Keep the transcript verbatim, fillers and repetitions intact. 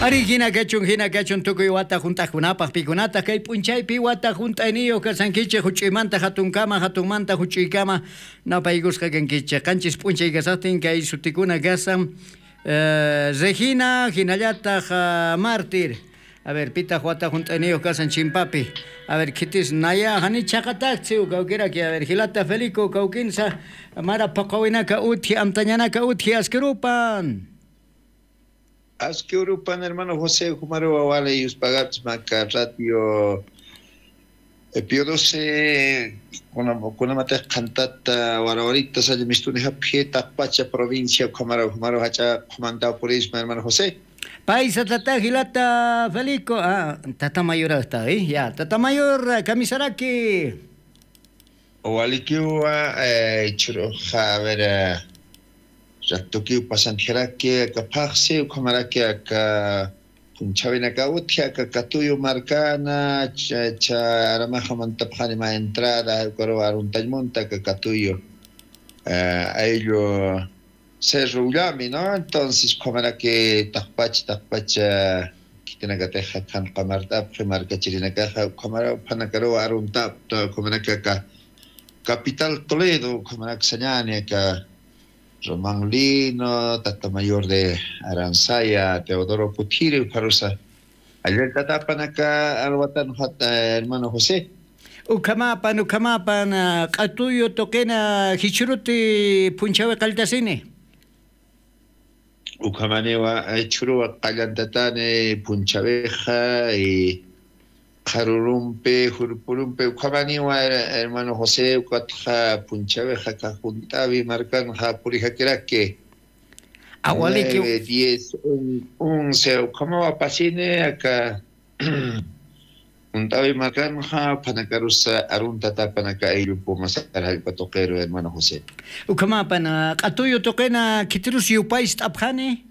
Ari, jina kachun, jina kachun tukuy wata junt'aqkunapax, pikunataq kay p'unchaypi wata junt'ayniyuq kasankichix, juch'uymanta jatunkama, jatunmanta juch'uykama, napaykusqa kankichix. Qanchis p'unchay kasaqtin kay sutikuna kasan, eh, Regina, jinallataq, ah, Mártir. A ver, pitaq wata junt'ayniyuq kasan chimpapi. A ver, khitis naya, jani chhaqatakchi, kawkiraki. A ver, jilata Felico, kawkinsa, mara phuqhawinaka utji, amtañanaka utji, askirupan. Aski urupan, hermano José, jumaruwa wali yuspagapchma aka radio, eh, Pío doce, kuna-, kunamatix qhantata warawarita salla mistunixapxi, taqpacha provincia, ukhamaraw, jumaruw jach'a qhumantaw purisma, hermano José. Paysa tata jilata Felico, ah, tata mayor está, ¿eh? Ya, tata mayor, kamisaraki. Walikiwa, eh, jichhüruxa, a ver, eh, ratukiw pasantxaraki aka phaxsi, ukhamaraki aka phunchhawinaka utji, aka Katuyu markana, cha, cha aramaxa mantapxani mä entrada, ukaruw aruntañ munta aka Katuyu, eh, ayllu Cerro Ullami, ¿no? Entonces, ukhamaraki taqpach, taqpach, eh, khitinakatix qhanqamart'apxi markachirinakaxa, ukhamaraw phanakaruw aruntapta, ukhamaraki aka capital Toledo, ukhamarak sañani aka Román Lino, tata mayor de Aransaya, Teodoro Kuthiri, ukharusa. Allillatatapan aka alwatan jat, eh, hermano José. Ukhamapan, ukhamapan, ah, Q'atuyu tuqina jichhüruti phunchhawix qalltasini. Ukhamaniwa, eh, jichhüruwa qallantatani phunchhawix, y qharürumpi, jurpürumpi, ukhamaniwa, her-, hermano José, ukatxa phunchhawix aka Junt'äwi markanxa purijakiraki. Awaliki. Nueve, diez, un-, once, ukhamawa pasini, aka Junt'äwi markanxa, phanakarusa aruntatapan aka ayllu Pumasar jallp'a tuqiru, hermano José. Ukhamapan, ah, Q'atuyu tuqina khitirus yupayst'apxani.